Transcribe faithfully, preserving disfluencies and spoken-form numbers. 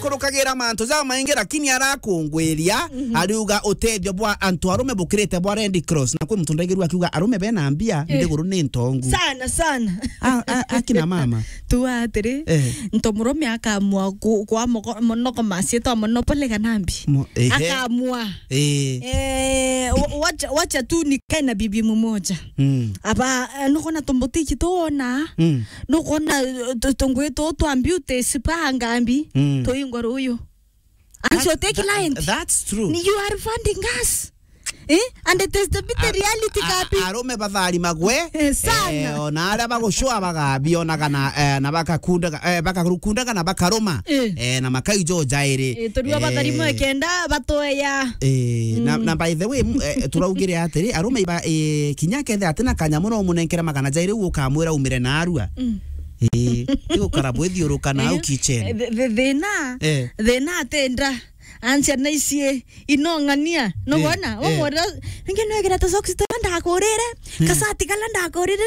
Kurukagira mantu jamaingi, lakini arakungwiria, ariuga utethio bwa antu arume bukirite bwa Red Cross. Na kwi muntu ndaigirua akiuga arume bena mbia, nthiguru ni ntongu. Sana, sana. A, a, akina mama. Tu atiri, eh, nto murume akamua ku-, kwa moko-, monoko masie twa monopoly kana mbi. Mo-, ehe. Akamua. Eh. Eh, wa-, wacha, wacha tu nikae na bibi mmoja. Mm. Aba, eh, nukona tumbutiki tuona. Mm. Nukona, eh, tu-, tungwi tu twa beauty spa ngambi. Mm. Tuingwa ruyu. And so take client. That's true. You are funding us. Eh? And it is the bitter reality, a-, kapi. Arume bathari magwe. Eh, sana. Eh, ona aria bagucua bagabionaga na, eh, na bakakundaga, eh, bakakundaga na bakaruma. Eh. Eh, na makaijo jairi. Eh, turua bathari mwe kenda batoya. Eh, na, na by the way, m-, eh, turaugire atiri, arume iba, eh, kinya kethe atina kanyamu no umunenkere magana jairi ukamwira umire na arua. Mm. Eh, tigukara bwithiuruka na au kitchen. Eh, thi-, thi-, thina, eh, thina atenda. Ansia na icie inong'ania. Nugona? Eh, eh. Wamwira, ningi nwegera ta socks tala ndakurire, eh, kasati kala ndakurire,